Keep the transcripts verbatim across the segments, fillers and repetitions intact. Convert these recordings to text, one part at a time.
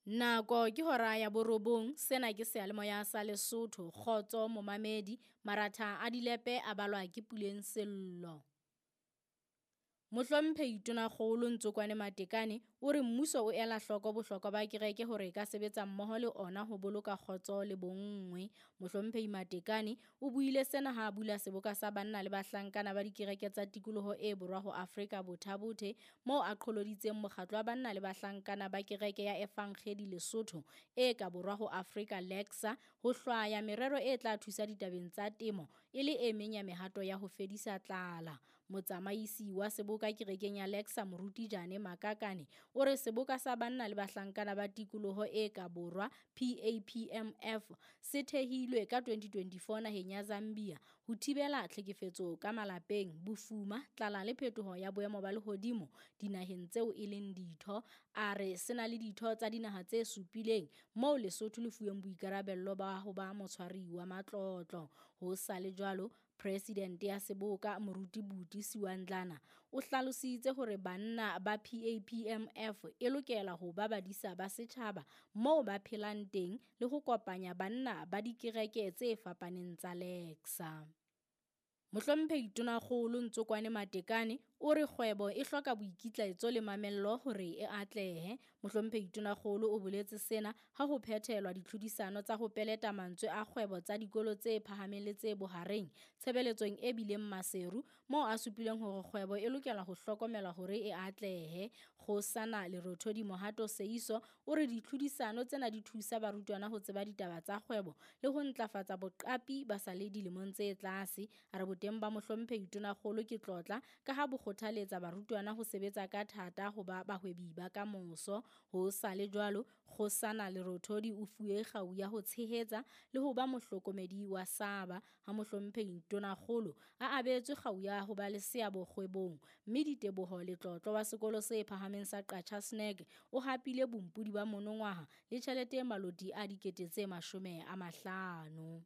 Nako ke hora ya borobong, sena ke seyalemoya sa Lesotho, kgotso momamedi, maratha a dilepe a balwa ke Puleng Sello. Mohlomphehi Tonakgolo Ntsokwane Matekane o re mmuso o ela hloko bohlokwa ba kereke hore e ka sebetsa mmoho le ona ho boloka kgotso le bonngwe. Mohlomphehi Matekane o buile sena ha a bula seboka sa banna le bahlankana ba dikereke tsa tikoloho e borwa ho Afrika Botha-Bothe moo a qholoditseng mokgatlo wa banna le bahlankana ba kereke ya Evangedi Lesotho e ka borwa ho Afrika LECSA ho hlwaya merero e tla thusa ditabeng tsa temo e le e meng ya mehato ya ho fedisa tlala. Motsamaisi wa seboka kerekeng ya LECSA Moruti Jane Makakane o re seboka sa banna le bahlankana ba tikoloho e ka borwa P A P M F se thehilwe ka twenty twenty-four naheng ya Zambia ho thibela tlhekefetso ka malapeng, bofuma, tlala le phetoho ya boemo ba lehodimo dinaheng tseo e leng ditho. A re se na le ditho tsa dinaha tse supileng moo Lesotho le fuweng boikarabello ba ho ba motshwari wa matlotlo. Ho sa le jwalo, President ya seboka Moruti Buti Siwandlana o hlalositse hore banna ba P A P M F e lokela ho ba badisa ba setjhaba moo ba phelang teng le ho kopanya banna ba dikereke tse fapaneng tsa LECSA. Mohlomphehi Tonakgolo Ntsokwane Matekane o re kgwebo e hloka boikitlaetso le mamello hore e atlehe. Mohlomphehi Tonakgolo o boletse sena ha ho phethelwa ditlhodisano tsa ho peleta mantswe a kgwebo tsa dikolo tse phahameng le tse bohareng tshebeletsong e bileng Maseru, moo a supileng hore kgwebo e lokela ho hlokomelwa hore e atlehe. Kgosana Lerothodi Mohato Seiso o re ditlhodisano tsena di thusa barutwana ho tseba ditaba tsa kgwebo le ho ntlafatsa boqapi ba sa le dilemong tse tlase. A re boteng ba Mohlomphehi Tonakgolo ke tlotla ka ha bo kgothaletsa barutwana ho sebetsa ka thata ho ba bahwebi ba kamoso. Ho sa le jwalo, Kgosana Lerothodi o fuwe kgau ya ho tshehetsa le ho ba mohlokomedi wa Saba ha Mohlomphehi Tonakgolo a abetswe kgau ya ho ba le seabo kgwebong, mme Diteboho Letlotlo wa sekolo se phahameng sa Qacha Snack o hapile bompodi ba monongwaha le tjhelete e maloti a dikete tse mashome a mahlano.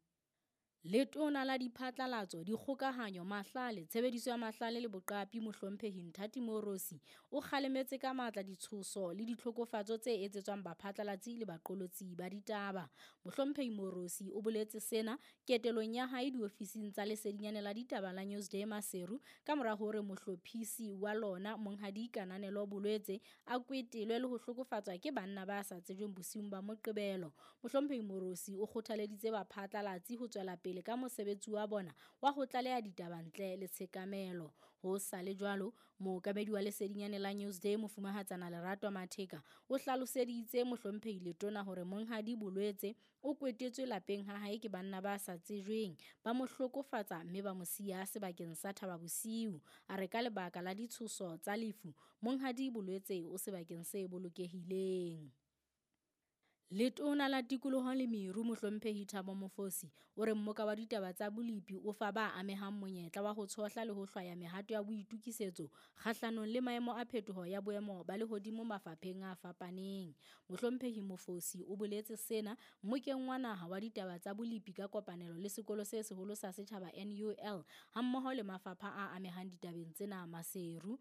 Letona la diphatlalatso, dikgokahanyo, mahlale, tshebediso ya mahlale le boqapi Mohlomphehi Nthati Moorosi o kgalemetse ka matla ditshoso le ditlhokofatso tse etsetswang baphatlalatsi le baqolotsi ba ditaba. Mohlomphehi Moorosi o boletse sena ketelong ya hae diofising tsa lesedinyane la ditaba la Newsday Maseru ka mora hore mohlophisi wa lona Monghadi Kananelo Bolwetse a kwetelwe le ho hlokofatswa ke banna ba sa tsejweng bosiung ba Moqebelo. Mohlomphehi Moorosi o kgothaleditse baphatlalatsi ho tswela pele ka mosebetsi wa bona wa ho tlaleha ditaba ntle le tshekamelo. Ho sa le jwalo, mookamedi wa lesedinyane la Newsday Mofumahatsana Lerato Matheka o hlaloseditse Mohlomphehi Letona hore Monghadi Bolwetse o kwetetswe lapeng ha hae ke banna ba sa tsejweng, ba mo hlokofatsa mme ba mo siya sebakeng sa Thaba Bosiu. A re ka lebaka la ditshoso tsa lefu, Monghadi Bolwetse o sebakeng se bolokehileng. Letona la tikoloho le meru Mohlomphehi Thabo Mofosi o re mmoka wa ditaba tsa bolepi o fa ba amehang monyetla wa ho tshohla le ho hlwaya mehato ya boitokisetso kgahlanong le maemo a phetoho ya boemo ba lehodimo mafapheng a fapaneng. Mohlomphehi Mofosi o boletse sena mmokeng wa naha wa ditaba tsa bolepi ka kopanelo le sekolo se seholo sa setjhaba N U L hammoho le mafapha a amehang ditabeng tsena Maseru.